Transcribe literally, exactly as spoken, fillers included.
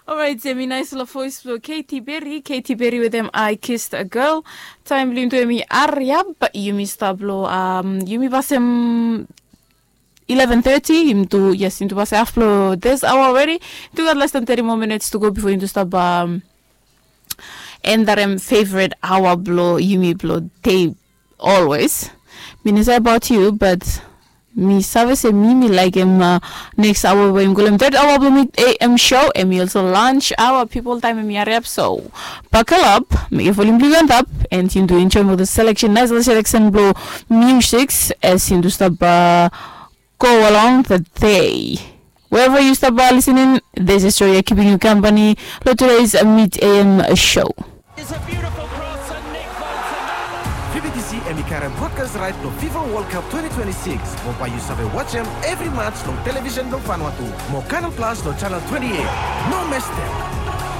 Orait, em i naisfala voes blong Katy Perry. Katy Perry wetem I Kissed a Girl. Taem blong yumi tu em i hariap, yumi stap long, um, yumi pasem eleven thirty, yumi tu, yes, yumi tu pasem haf blong this hour already. Tu gat less than thirty more minutes to go before yumi tu stap, um, endarem favorite hour blong yumi blong dei always. Mi no save about you, but mi save se mi mi laekem, uh, next hour we yumi kolem third hour blong mi A M show, em i also lunch hour, people, taem em i hariap. So buckle up, mekem volume blong yu antap, and yumi tu enjoem ol selection, naisfala selection blong music as yumi tu stap, uh, go along the day. Wherever you stop by listening, this is Joya keeping you company. Lo today's Mid A M show. V B T C em i karem broadcast right lo FIFA World Cup twenty twenty-six. Mo bae yu save wajem evri match long television blong Vanuatu. Mo Canal Plus lo channel twenty-eight. No mes dem.